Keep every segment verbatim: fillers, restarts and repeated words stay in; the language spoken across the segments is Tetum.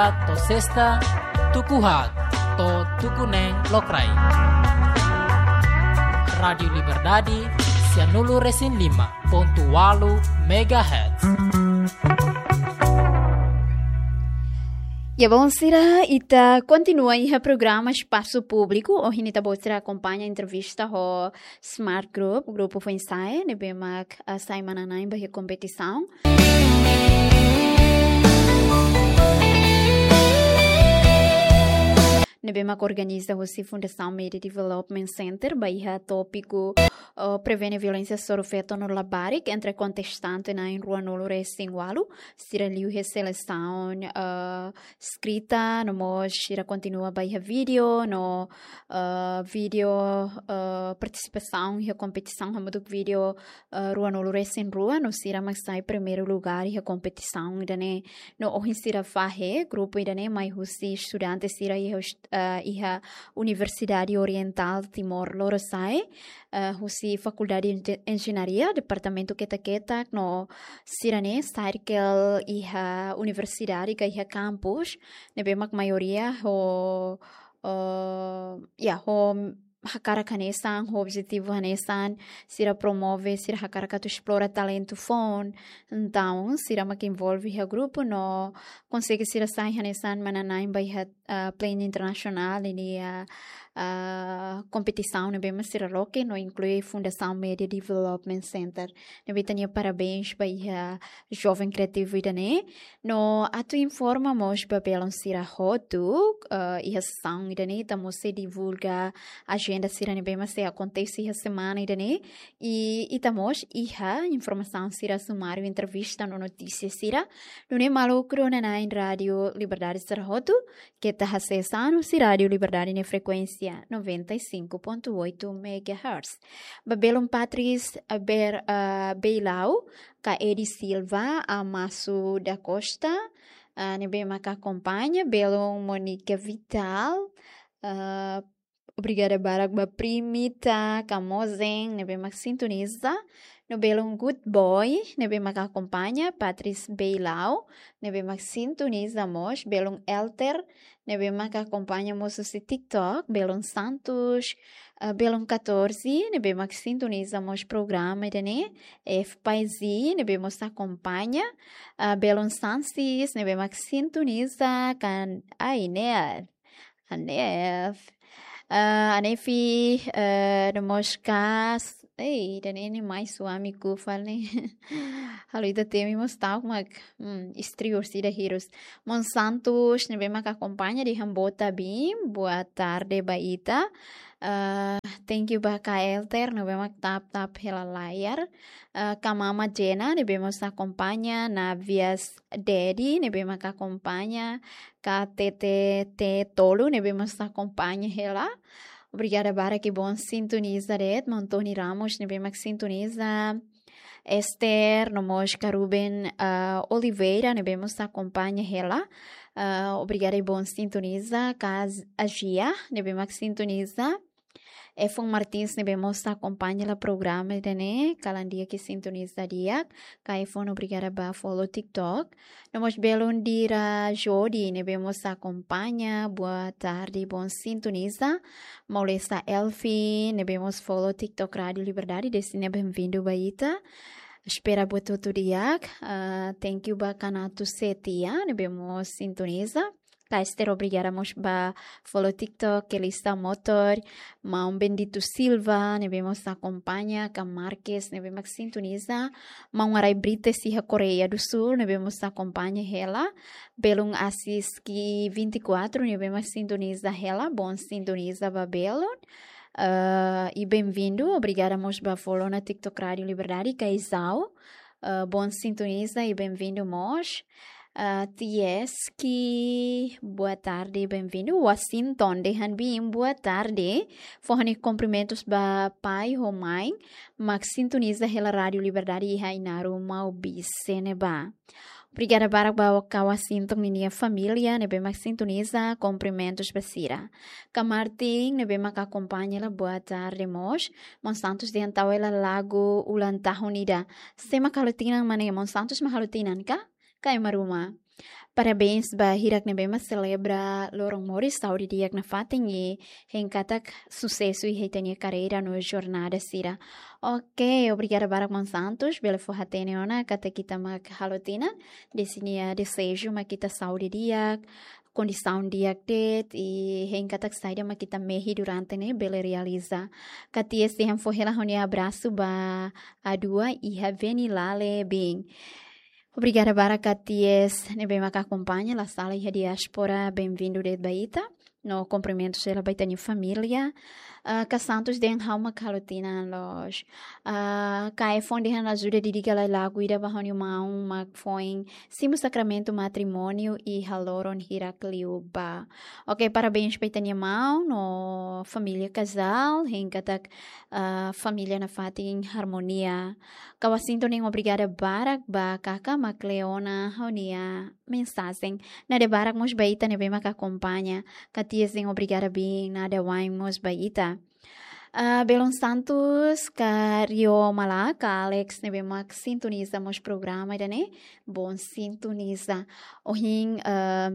To'o sesta, tuku haat to'o tuku neen lokraik. Rádiu Liberdade, sianulu-resin-lima pontu ualu megahertz. Ya, bom, sira, ita kontinua iha programa Espasu Públiku. Ohin ita-boot sira akompaña entrevista ho Smart Group, grupu foin-sa'e, ne'ebé mak, ah, sai manán-na'in ba iha kompetisaun ne'ebé mak organiza husi Fundasaun Media Development Center, ba iha tópiku, eh, prevene violénsia hasoru feto no labarik entre kontestante na'in ruanulu-resin-ualu, sira liu iha selesaun, eh, eskrita, no mós sira kontinua ba iha vídeo, no, eh, vídeo, eh, partisipasaun iha kompetisaun hamutuk vídeo, eh, ruanulu-resin-rua, no sira mak sai primeiru lugar iha kompetisaun ida-ne'e. No ohin sira fahe, grupu ida-ne'e mai husi estudante sira iha ust-, eh, iha Universidade Oriental Timor Lorosa'e, eh, husi Fakuldade Enje-, Enjeñaria, departamentu ketak-ketak, no sira-ne'e circle iha universidade ka iha kampus, ne'ebé mak maioria ho, eh, ya, ho hakarak hanesan, ho objetivu hanesan, sira promove, sira hakarak atu esplora talentu foun. Entaun, sira mak envolve iha grupu no konsege sira sai hanesan manán-na'in ba iha, ah, planu internasionál ninia, ah, ah, kompetisaun ne'ebé mak sira loke no inklui Fundasaun Media Development Center. Ne'ebé ita-nia parabéns ba iha joven kriativu ida-ne'e. No atu informa mós ba belun sira hotu, eh, iha sesaun ida-ne'e ita mós sei divulga ajenda sira ne'ebé mak sei akontese iha semana ida-ne'e. I ita mós iha informasaun sira sumáriu, entrevista no notísia sira. Nune'e maluk rona-na'in Rádiu Liberdade sira hotu, keta hasees an husi Rádiu Liberdade nia frekuénsia noventa e cinco ponto oito megahertz. Ba belun Patris, eh, Ber-, eh, Beilau, ka Edi Silva, Amasu da Costa, ah, ne'ebé mak akompaña, belun Monica Vital, ah, obrigada barak ba Primita Kamozen, ne'ebé mak sintoniza, no belun Good Boy, ne'ebé mak akompaña, Patris Beilau, ne'ebé mak sintoniza mós, belun Elter, ne'ebé mak akompaña mós husi TikTok, belun Santos, ah, belun catorze, ne'ebé mak sintoniza mós programa ida-ne'e, F Paizi, ne'ebé mós akompaña, ah, belun Sansis, ne'ebé mak sintoniza, kan, ai, Nef, Nef. Ah, Anefi, eh, no mós kas, ei, ida-ne'e nia mai suamiku fali ne'e. Halo ita temi mós ta'uk mak, hmm, istri orsida hirus. Mon Santos, ne'ebé mak akompaña dehan boa tarde, boa tarde ba ita. Ah, thank you ba Kak Elter, ne'ebé mak tap-tap hela layar. Ah, Kak Mama Jena, ne'ebé mós akompaña, Navias Dedi, ne'ebé mak akompaña, Kak T T T Tolu, ne'ebé mós akompaña hela. Obrigada barak, i bom sintoniza de'it, Mon Tony Ramos, ne'ebé mak sintoniza. Esther, no mós Kak Ruben, ah, Oliveira, ne'ebé mós akompaña hela. Ah, obrigada i bom sintoniza, Kak Agia, ne'ebé mak sintoniza. Efon Martins, ne'ebé mós akompaña hela programa ida-ne'e, kalan di'ak i sintoniza di'ak. Kak Efon, obrigada ba follow TikTok. No mós belun Dira Jodi, ne'ebé mós akompaña, boa tarde, bom sintoniza. Maulesa Elfi, ne'ebé mós follow TikTok Rádiu Liberdade, dehan sira bem-vindu ba ita. Espera buat hotu di'ak. Ah, thank you ba Kanato Setia, ne'ebé mós sintoniza. Kak Esther, obrigada mós ba follow TikTok, Kelista Motor, Maun Bendito Silva, ne'ebé mós akompaña, Kak Marques, ne'ebé mak sintoniza, Maun Arai Brites iha Koreia do Sul, ne'ebé mós akompaña hela, belun Asiski vinte e quatro, ne'ebé mak sintoniza hela, bom sintoniza ba belun. Eh, i bem-vindu, obrigada mós ba follow ona TikTok Rádiu Liberdade, Kak Izau. Eh, bom sintoniza i bem-vindu mós. Ah, Tieski, boa tarde, bem-vindu. Washington, dehan bem, boa tarde. Fó ha'u-nia kumprimentus ba pai ho mãe mak sintoniza hela Rádiu Liberdade iha Ainaro, Maubisse ne'ebá. Obrigada barak ba Kak Washington ninia família ne'ebé mak sintoniza, kumprimentus ba sira. Kak Martin, ne'ebé mak akompaña hela, boa tarde mós. Mon Santos dehan tau hela lagu ulang tahun ida. Sé mak halo tinan, mana, Mon Santos mak halo tinan ka? Ka ema ruma. Parabéns ba hirak ne'ebé mak selebra loron moris, saúde di'ak nafatin i hein katak susesu iha ita-nia karreira no jornada sira. Oke, obrigada barak maun Santos, bele fó-hatene ona katak ita mak halo tinan, dezeña deseju mak ita saúde di'ak, kondisaun di'ak de'it, i hein katak saida mak ita mehi durante ne'e bele realiza. Katias dehan fó hela ha'u-nia abrasu ba Adua iha Venilale bin. Obrigada barak katias ne'ebé mak akompaña, la sala iha diáspora, benvindu de'it ba ita. No kumprimentu sira ba ita-nia família. Ah, Ka Santos dehan ha'u mak halo tinan loos. Ah, Ka Efon dehan ajuda didika lai lagu ida ba ha'u-nia maun mak foin simu sakramentu matrimóniu iha loron hirak liubá. Oke, parabéns ba ita-nia maun no família kazál, hein katak, ah, família nafatin harmonia. Ka Washington dehan obrigada barak ba kaka mak Leona ha'u-nia mensajen. Nada barak mós ba ita ne'ebé mak akompaña. Katias dehan obrigada bin, nada wa'in mós ba ita. Ah, Belun Santos, Ka Rio Malak, Ka Alex ne'ebé mak sintoniza mós programa ida-ne'e, bom sintoniza. Ohin, ah,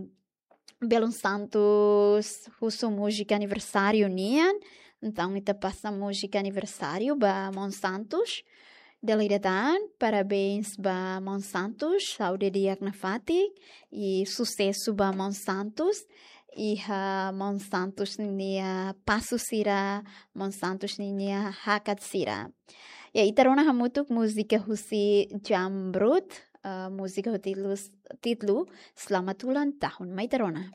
Belun Santos husu múzika aniversáriu nian, entaun ita pasa múzika aniversáriu ba maun Santos. Dala ida tan, parabéns ba maun Santos, saúde di'ak nafatin i susesu ba maun Santos. Iha maun Santos ninia pasu sira, maun Santos ninia hakat sira. Ya, ita rona hamutuk múzika husi Jamrud, ah, múzika ho títulu, títulu Selamat Ulang Tahun. Mai ita rona.